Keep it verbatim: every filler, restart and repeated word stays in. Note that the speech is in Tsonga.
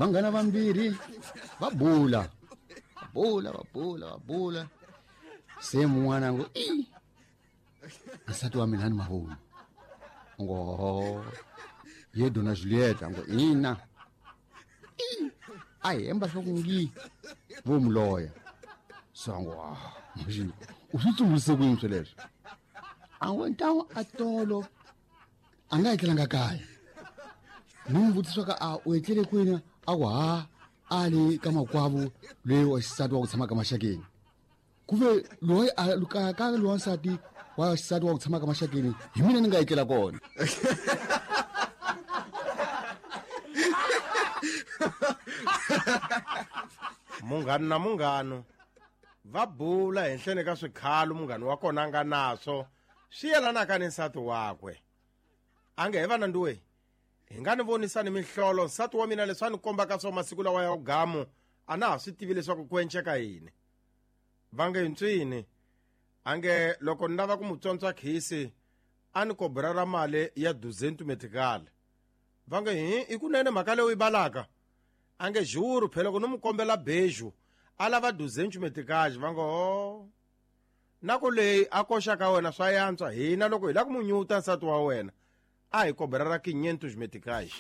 Vanghana vambirhi va bula. Va bula, va bula, va bula. Se mun'wana a ngo i nsati wa mina ni mavoni. Ngo ye dona Julieta ngo ina. I a hemba swa ku ngi vo muloya. So ngo ah manje u swi tsumbulise ku yini sweleswo? A ngo ntawu a tolo a nga etlelanga kaya. Ni n'wi vutisa ka a u etlele kwini a ku ha a le ka makwavo loyi wa xisati wa ku tshama ka maxakeni. Ku ve loyi a ka ka loyi wa nsati wa xisati wa ku tshama ka maxakeni hi mina ni nga etlela kona. Munghana na munghano va bula henhleni ka swikhalo munghana wa kona a nga naswo swi yelanaka ni nsati wakwe. A nge he va nanduwe hi nga ni vonisani mihlolo nsati wa mina leswi a ni kombaka swo masiku lawa ya gamu a na ha swi tivi leswaku ku enceka yini. Va nge ntswini a nge loko ni lava ku mu tsontswa khisi a ni kobra ra mali ya duzentu metikali. Va nge hi i kunene mhaka leyi u yi balaka a nge juru phela loko ni mu kombela beju a lava duzentu metikali. Va ngo ho na ku leyi a koxaka wena swa yantswa hina loko hi lava ku mu nyuta nsati wa wena a hi kobra ra quinhentos meticais.